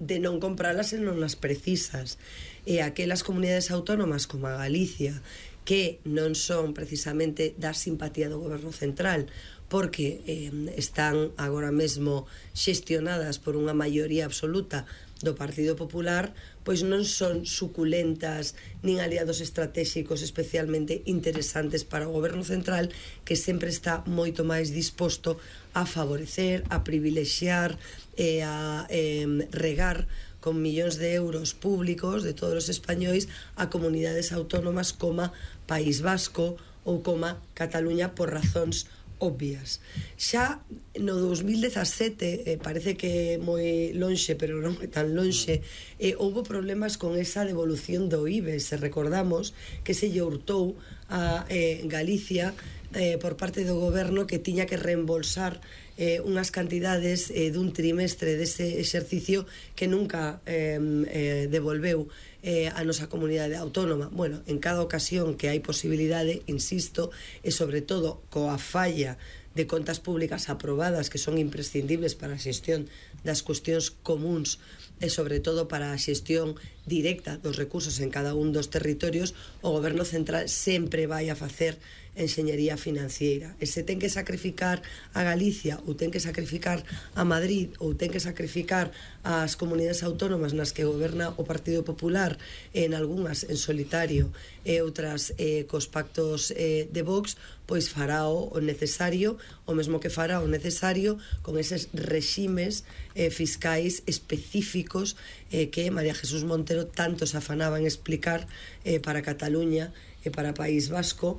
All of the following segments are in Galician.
de non compralas e non as precisas. E aquelas comunidades autónomas como a Galicia, que non son precisamente da simpatía do goberno central, porque están agora mesmo xestionadas por unha maioría absoluta do Partido Popular, pois non son suculentas nin aliados estratégicos especialmente interesantes para o goberno central, que sempre está moito máis disposto a favorecer, a privilexiar e a regar con millóns de euros públicos de todos os españois a comunidades autónomas como País Vasco ou como Cataluña por razóns obvias. Xa no 2017, parece que é moi lonxe, pero non é tan lonxe, houbo problemas con esa devolución do IBE. Se recordamos que se lle hurtou a Galicia por parte do goberno, que tiña que reembolsar unhas cantidades dun trimestre dese exercicio que nunca devolveu a nosa comunidade autónoma. Bueno, en cada ocasión que hai posibilidade, insisto, e sobre todo coa falla de contas públicas aprobadas, que son imprescindibles para a xestión das cuestións comuns e sobre todo para a xestión directa dos recursos en cada un dos territorios, o goberno central sempre vai a facer enxeñería financiera. E se ten que sacrificar a Galicia, ou ten que sacrificar a Madrid, ou ten que sacrificar as comunidades autónomas nas que goberna o Partido Popular, en algunhas en solitario e outras cos pactos de Vox, pois fará o necesario, o mesmo que fará o necesario con eses reximes fiscais específicos que María Jesús Montero tanto se afanaba en explicar para Cataluña e para País Vasco,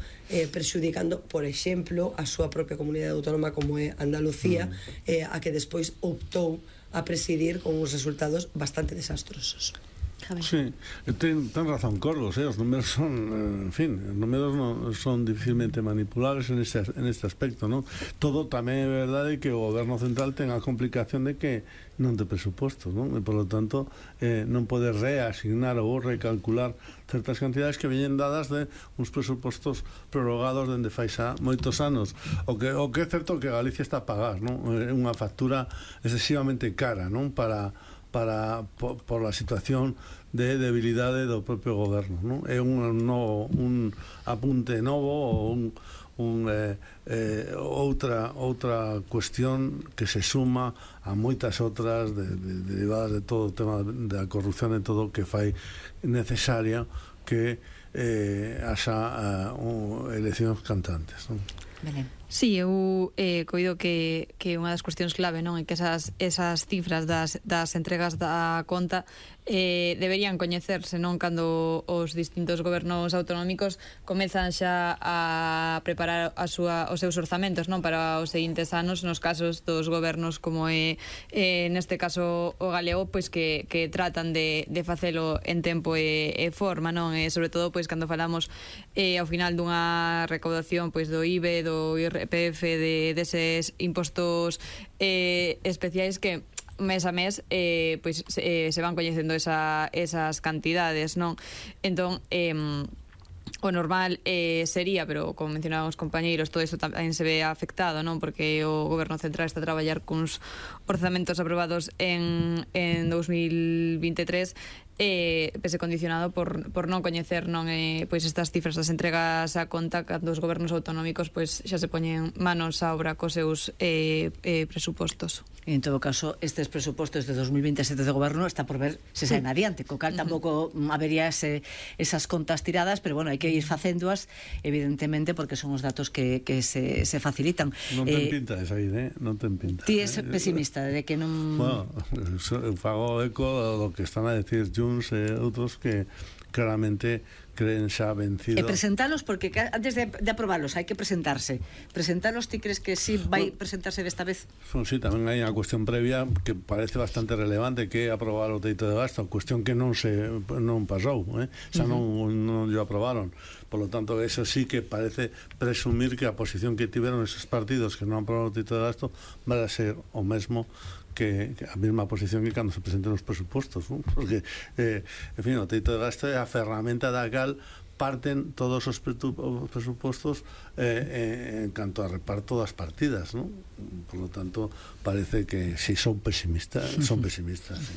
prexudicando, por exemplo, a súa propia comunidade autónoma como é Andalucía, a que despois optou a presidir con uns resultados bastante desastrosos. Sí, ten razón Carlos, os números son, en fin, os números son dificilmente manipulables en este aspecto, ¿no? Todo tamén é verdade que o goberno central ten a complicación de que non ten presupostos, ¿no? E, por lo tanto, non pode reasignar ou recalcular certas cantidades que veñen dadas de uns presupostos prorrogados dende fai xa moitos anos. O que é certo que Galicia está a pagar, ¿no? É unha factura excesivamente cara, ¿no? Por la situación de debilidade do propio goberno, ¿no? É un apunte novo ou outra cuestión que se suma a moitas outras derivadas de todo o tema da corrupción e todo o que fai necesaria que haxa eleccións cantantes, ¿no? Sí, eu coido que unha das cuestións clave, non, é que esas cifras das entregas da conta deberían coñecerse, non, cando os distintos gobernos autonómicos comezan xa a preparar os seus orzamentos, non, para os seguintes anos, nos casos dos gobernos como é neste caso o galego, pois que tratan de facelo en tempo e forma, non, e sobre todo pois cando falamos ao final dunha recaudación pois do IBE, do IRPF, deses impostos especiais que mes a mes pois se van coñecendo esas cantidades, non? Entón, o normal sería, pero como mencionaban os compañeiros, todo iso tamén se ve afectado, non? Porque o goberno central está a traballar cuns orzamentos aprobados en 2023 pese condicionado por non coñecer, non, pois estas cifras das entregas a conta cando os gobernos autonómicos pois xa se poñen manos á obra cos seus presupostos. En todo caso, estes presupostos de 2027 do goberno está por ver se saen adiante, co cal tampouco habería esas contas tiradas, pero bueno, hai que ir facéndoas evidentemente porque son os datos que se facilitan. Non ten pinta de sair, non ten pinta. Ti és pesimista de que non... Bueno, fago eco do que están a decir Junts e outros que claramente creen xa vencido. E presentalos, porque antes de aprobalos hai que presentarse. Presentalos, ti crees que sí vai presentarse desta vez? Sí, tamén hai unha cuestión previa que parece bastante relevante, que é aprobar o teito de gasto, cuestión que non pasou, xa non lle aprobaron. Por lo tanto, eso sí que parece presumir que a posición que tiveron esos partidos que non aprobaron o teito de gasto vai a ser o mesmo que a mesma posición que cando se presenten os presupostos, ¿no? Porque, en fin, o teito de gasto é a ferramenta da cal parten todos os presupostos en canto a reparto das partidas, ¿no? Por lo tanto, parece que si son pesimistas, sí.